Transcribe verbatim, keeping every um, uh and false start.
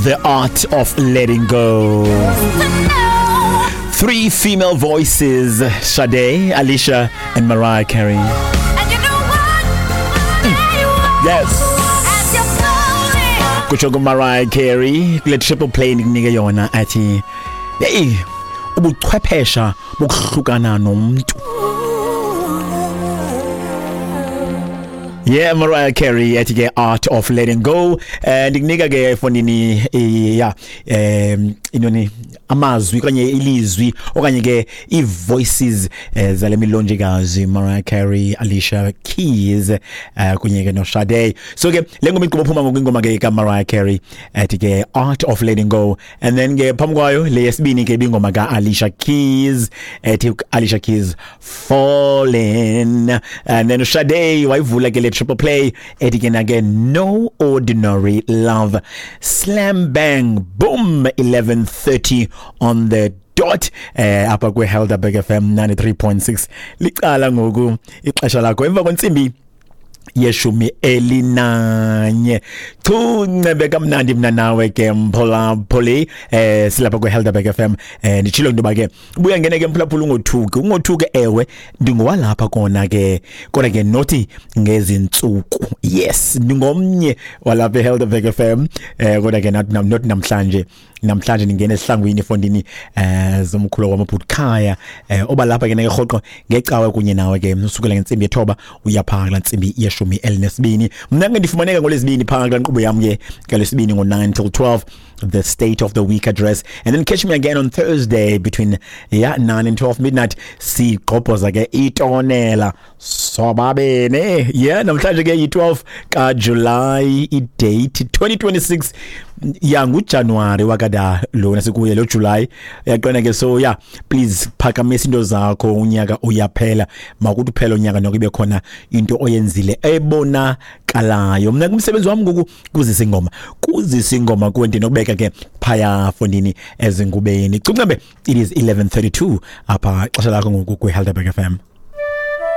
The Art of Letting Go. Three female voices, Sade, Alicia, and Mariah Carey. And you know what? Yes. As you're falling. Kutsho kuMariah Carey kule triple play ndikunike yona athi hey, ubuchwephesha bokuhlukana nomntu. Yeah, Mariah Carey ethi ke Art of Letting Go. Eh ndikunika ke fonini yeah um inoni amazwi okanye ilizwi okanye ke i-voices eh, zale milonjekazi Mariah Carey, Alicia Keys eh, kunye ke no Sade. So ke le ngoma igqiba phuma ngoku ingoma ke ka Mariah Carey ethi ke Art of Letting Go, and then ke phambi kwayo le yesibini ke ibingoma ka Alicia Keys ethi Alicia Keys Falling, and then Sade wayivula ke le triple play ethi ke na ke No Ordinary Love. Slam bang boom, eleven thirty on the dot eh apha kwe Helderberg F M ninety-three point six. Licala ngoku ixesha lakho emva kwentsimbi yeshumi elinanye. Chuncebe kamnandi mna nawe ke mphulaphuli eh silapha kwe Helderberg F M. Eh nditshilo into ba ke buya ngene ke mphulaphuli ungothuki ungothuke ewe ndingowalapha kona ke kodwa ke nothi ngezintsuku. Yes, ndingomnye walapha eHelderberg F M eh kodwa ke not not namhlanje. Namhlanje ningena esihlangwini efondini eh zomkhulu wamabhukhaya eh oba lapha ke rhoqo ngecawe kunye nawe ke usukela ngentsimbi yethoba uya phaa kula ntsimbi yeshumi elinesibini. Mna ke ndifumaneka ngolwesibini phaa kula nkqubo yam ke ngalwesibini ngo nine till twelve, the State of the Week address, and then catch me again on Thursday between yeah nine and twelve midnight. Sigqobhoza ke itonela sobabene. Yeah, namhlanje ke yi-twelve ka July, i-date twenty twenty-six. Ya nguJanuary wakada lona sikuye lo July yaqona ke. So yeah, please phakamisa into zakho, unyaka uyaphela, makuthi uphela unyaka nokube ibe khona into oyenzile ebonakalayo. Mna kumsebenzi wami ngoku kuzisa ingoma kuzisa ingoma kuwe ndinokubeka ke phaya fondini ezingubeni. Cuncembe, it is eleven thirty-two apha xesha lakho ngoku kwi Helderberg F M.